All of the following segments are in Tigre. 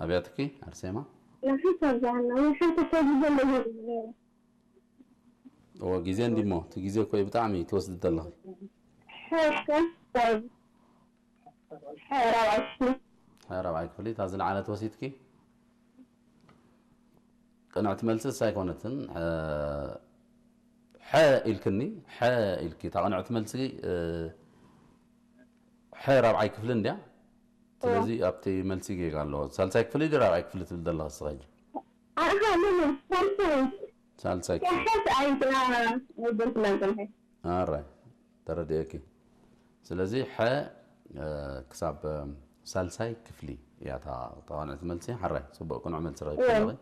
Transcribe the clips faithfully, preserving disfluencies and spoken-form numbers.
አብያትኪ አርሴማ? ለሐሰብ ዛና ወሐሰብ ተግዘለ ይሄድ። ወጊዜ እንዲሞ፣ ትጊዜ እኮ ብጣዕሚ ትወስድ ደለኺ። ሐሰብ ሐ ራብዓይ ክፍሊ። ሐ ራብዓይ ክፍሊ፣ ታዚ ለዓለት ወሲትኪ? ቅንዕቲ መልሲ እሳ ኣይኮነትን። ሐ፣ ሐ ኢልክኒ፣ ሐ ኢልኪ። እታ ቅንዕቲ መልሲ፣ እ፣ ሐ ራብዓይ ክፍሊ እንድያ። ስለዚ ኣብቲ መልሲ ጌጋ ኣለዎ። ሳልሳይ ክፍሊ ድዩ ራብዓይ ክፍሊ ትብል ዘለኻ እስኻ ሕጂ? ኣሃ፣ ምን፣ ሳልሳይ። ሳልሳይ ክፍሊ። ያሐት ኣይዳ፣ ኣይበልኩላን ጸንሐ። ኣራይ፣ ተረድኤኪ። ስለዚ ሐ፣ እ፣ ክሳብ፣ እ፣ ሳልሳይ ክፍሊ እያ እታ ተቃንዕቲ መልሲ። ሐራይ፣ ጽቡቅ ቅኑዕ መልሲ ረኺብኪ እወ። ኣለኺ።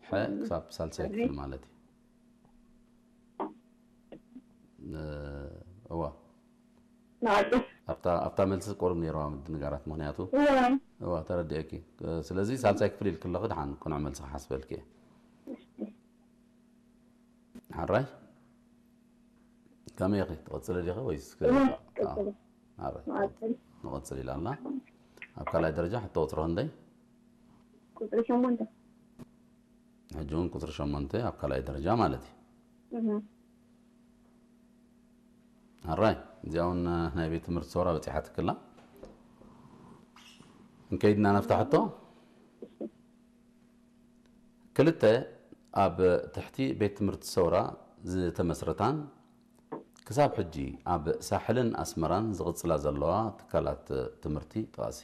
ሐ እም። ክሳብ ሳልሳይ እዚ ክፍሊ ማለት እዩ። እ፣ እዋ። ናቱ። ኣብታ፣ ኣብታ መልሲ ቁሩብ ነይርዋ ምድንጋራት፣ ምኽንያቱ እወ። እዋ፣ ተረድኤኪ። እ፣ ስለዚ ሳልሳይ ክፍሊ ኢልኪ ኣለኺ፣ ደሓን ቅኑዕ መልሲ ክሓስበልኪ እየ። ሐራይ? ከመይ ኢኺ? ትቐጽሊ ዲኺ ወይስ ክ-፣ እወ፣ አ፣ ቀጽሊ። ሐራይ። መቐጽል። ንቐጽል ኢላና። ኣብ ካልኣይ ደረጃ ሕቶ ቁጽሪ ክንደይ? ቁጽሪ ሸሞንተ። ሕጂ እውን ቁጽሪ ሸሞንተ ኣብ ካልኣይ ደረጃ ማለት እዩ። እህ። ሐራይ፣ እዚኣ እውን ናይ ቤት ትምህርቲ ሰውራ በጺሓትክላ። እንከይድና ነፍታ ሕቶ። ክልተ ኣብ ትሕቲ ቤት ትምህርቲ ሰውራ ዝተመስረታን ክሳብ ሕጂ ኣብ ሳሕልን ኣስመራን ዝቕጽላ ዘለዋ ትካላት ትምህርቲ ጥቓሲ።